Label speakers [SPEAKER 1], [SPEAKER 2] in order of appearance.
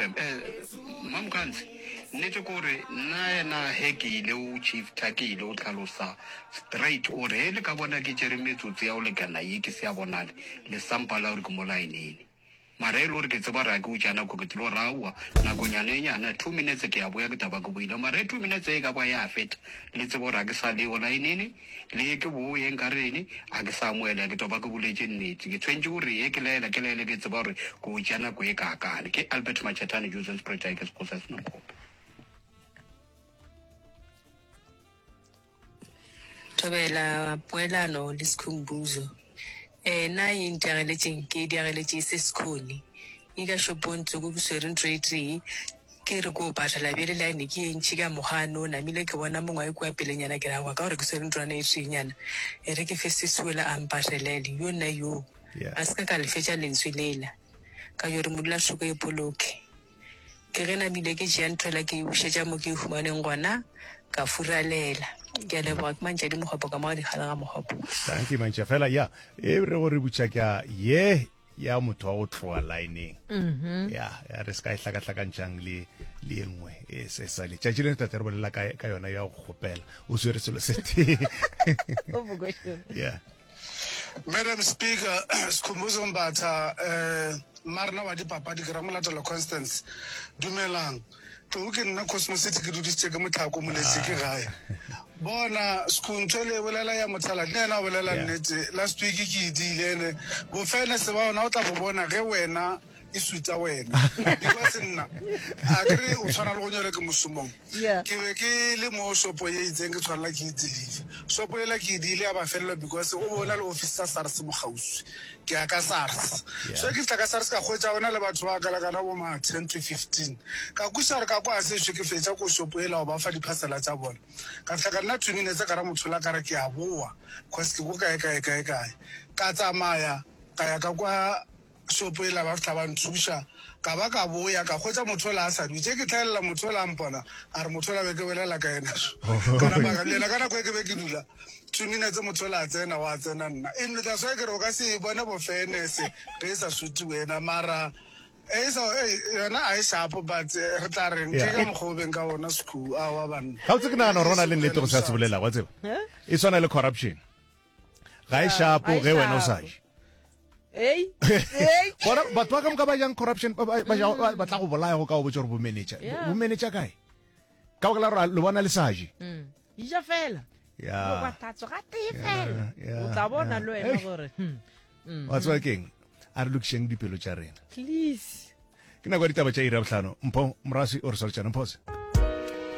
[SPEAKER 1] FM. Eh, Mamokgantsi, nnete ke gore nna yena he ke ile o shifta ke ile o tlhalosa straight o re he le ka bona ke tšere metsotso ya go lekana ye ke se ya bonale le sampa la gore ke mo laeneng. Mara e le gore ke tseba gore ga ke utša nako ke tlilo ra aowa nakonyana e nyana two minutes ke ya boya ke taba ke boile mara e two minutes e ka ba ya feta le tsebe gore ga ke sa leo laeneng Le ye ke boye nka reng? A ke sa amohela, ke toba ke boletše nnete. Ke tshwentše gore ye ke laela, ke laele ke tseba gore ke o tšea nako e kaakang. Ke Albert Machetane, Joseph Spretae, ke Sekgosa Senokgopo.
[SPEAKER 2] Thobela poelano le Sikhumbuzo. Eh, na e ntiageletšeng ke e diageletše e se sekhoni. E ka shopong tsoko ke swere ntho e tee, ke re ko patala bjale line ke ye ntši ka mokgwa no namile ke bona mongwe a kua pelenyana ke ra kwa ka gore ke swere ntlwana e teenyana e re ke fe sesi ola a mpatelele yo nna yoo a se ka ka lefetša lentswe lela ka yo re modulathoko e boloke ke ge namile ke tšea ntho ela ke e bušetša mo ke e humaneng gona ka furalela ke a leboga ke mantšadi mogopo ka mo ga dikgale ga mogopo.
[SPEAKER 3] Dankie mantša fela ya e re go re butša ka ye ya motho wa go tloga lineng mm-hmm. ya ya re se ka e hlakahlakantšang le le ye nngwe e se sa letšatši le tate re bolela ka ka yona ya go kgopela o swere selo se tee yeah
[SPEAKER 4] Madam Speaker, Skhumbuzo Mbatha, eh, mmarena wa dipapadi ke Ramolatelo Constance. Dumelang. Tlou ke nna Cosmo City ke dudisitše ke motlhako moletše ke gae. Bona Skhu ntho le e bolela ya mothaladi le yena o bolela nnete. Last week ke e diile ene bofenese ba ona o tla bo bona ge wena e suta wena because nna a kere o tshwana le go nyole ke mosomong ke be ke le mo shopo ye itseng ke tshwanela ke e deliver shopo ela ke e diile ya ba felelwa because o be o na le office sa SARS mo kgauswi Ke ya ka SARS. So ke fihla ka SARS ka hwetša go na le batho ba kalakana bo ma 10 to 15. Ka kwešiša gore ka kwa sešo ke fetša ko shopo yela go ba fa di-parcela tša bona. Ka fihla ka nna 2 minutes ka ra motho la ka re ke a boa cause ke ko kae kae kae kae. Ka tsamaya ka ya ka kwa shopo yela ba fihla ba nthuša. Ka ba ka boya ka hwetša motho ola a sa dutše. Ke hlaelela motho ola a mpona a re motho ola be ke bolela ka yena. Ka napa ka le yena ka nako e ke be ke dula. 2 minutes motho ola a tsena wa tsena nna e that's why ke re o ka se e bone bo fairness ge e sa suite wena mara e sa yona a e sharp but eh, re tla reng ke ka mokgwa o beng ka ona sekhu a wa banna
[SPEAKER 3] gabotse ke nagana gore go na le nnete go se a se bolelago wa tseba e swana le corruption ga e shapo ge wena o sa je gona batho ba ka moka ba jang corruption ba tla go bolaya go ka o botsa gore bomenetša bomenetša kae ka baka la gore le bona le sa je
[SPEAKER 5] mm. ja fela ya wa tlatso ga tee fela o tla bona le wena gore hmm,
[SPEAKER 3] mm. wa tseba keng a re lokišeng dipelo tša rena
[SPEAKER 5] please
[SPEAKER 3] ke nako ya ditaba tša iri ya bohlano mpho moraswi o re swaletšana mphose.